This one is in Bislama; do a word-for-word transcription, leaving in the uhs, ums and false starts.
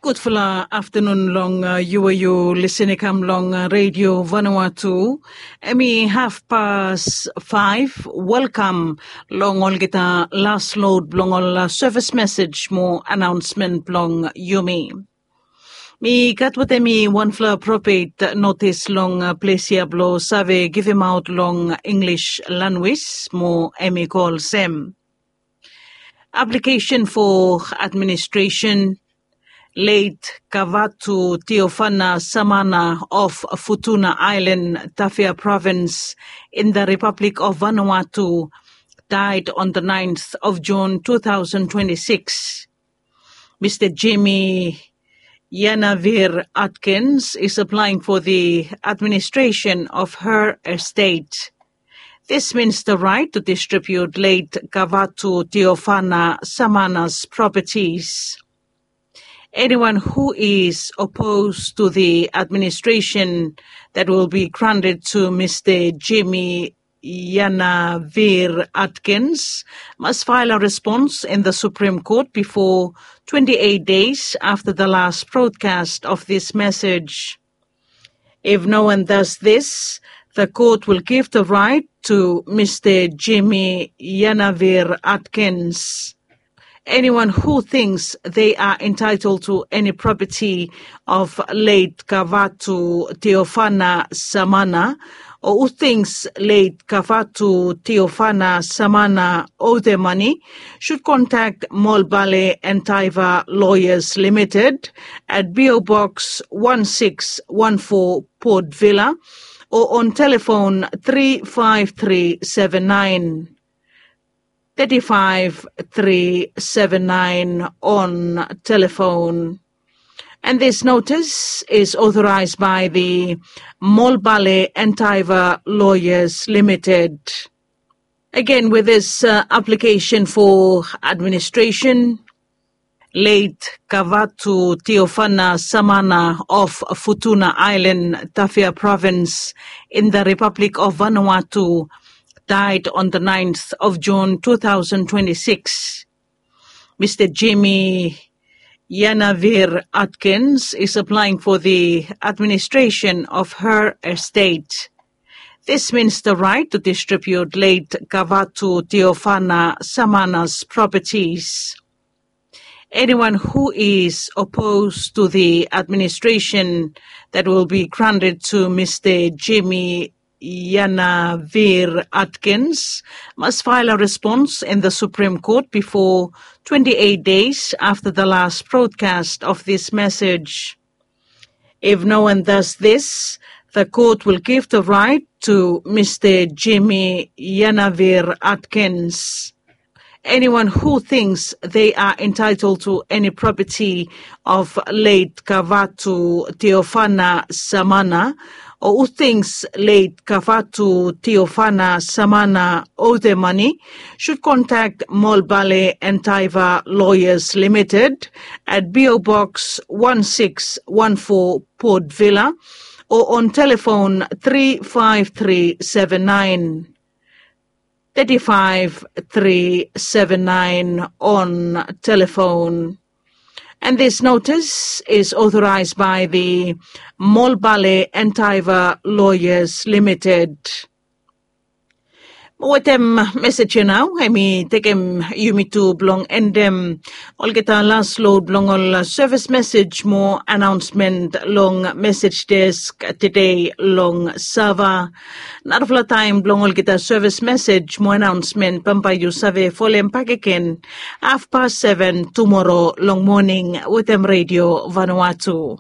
Gudfala aftanun long yu we yu lisin i kam long redio Vanuatu. Em i hafpas faef. Welkam long olgeta las lod blong ol sevis mesej mo anaonsmen blong yumi. Mi gat wetem mi wanfala propet notis long ples ya blong save givimaot long Inglis lanwis mo em i go olsem. Aplikesen fo administresen. Late Kavatu Teofana Samana of Futuna Island, Tafea Province, in the Republic of Vanuatu, died on the ninth of June two thousand twenty-six. Mister Jimmy Yanavir Atkins is applying for the administration of her estate. This means the right to distribute late Kavatu Teofana Samana's properties. Anyone who is opposed to the administration that will be granted to Mister Jimmy Yanavir Atkins must file a response in the Supreme Court before twenty-eight days after the last broadcast of this message. If no one does this, the court will give the right to Mister Jimmy Yanavir Atkins. Anyone who thinks they are entitled to any property of late Kavatu Teofana Samana, or who thinks late Kavatu Teofana Samana owe them money, should contact Molbale and Taiva Lawyers Limited at P O Box one six one four, Port Vila, or on telephone three five three seven nine. Thirty-five three seven nine on telephone. And this notice is authorized by the Molbale and Taiva Lawyers Limited. Again, with this uh, application for administration, late Kavatu Teofana Samana of Futuna Island, Tafea Province, in the Republic of Vanuatu, died on the ninth of June two thousand twenty-six. Mister Jimmy Yanavir Atkins is applying for the administration of her estate. This means the right to distribute late Kavatu Teofana Samana's properties. Anyone who is opposed to the administration that will be granted to Mister Jimmy Yanavir Atkins must file a response in the Supreme Court before twenty-eight days after the last broadcast of this message. If no one does this, the court will give the right to Mister Jimmy Yanavir Atkins. Anyone who thinks they are entitled to any property of late Kavatu Teofana Samana, or who thinks late Kavatu Teofana Samana owe them money, should contact Molbale and Taiva Lawyers Limited at P O Box one six one four, Port Vila, or on telephone three five three seven nine. Thirty-five three seven nine on telephone. And this notice is authorized by the Molbale and Taiva Lawyers Limited. Mo wetem mesej ya nao, hemi tekem yumi tu blong endem olgeta las lod blong ol sevis mesej mo anaonsmen long mesej desk tede long Sava. Narafala taem blong olgeta sevis mesej mo anaonsmen bambae yu save folem bakegen hafpas seven tumoro long moning wetem Redio Vanuatu.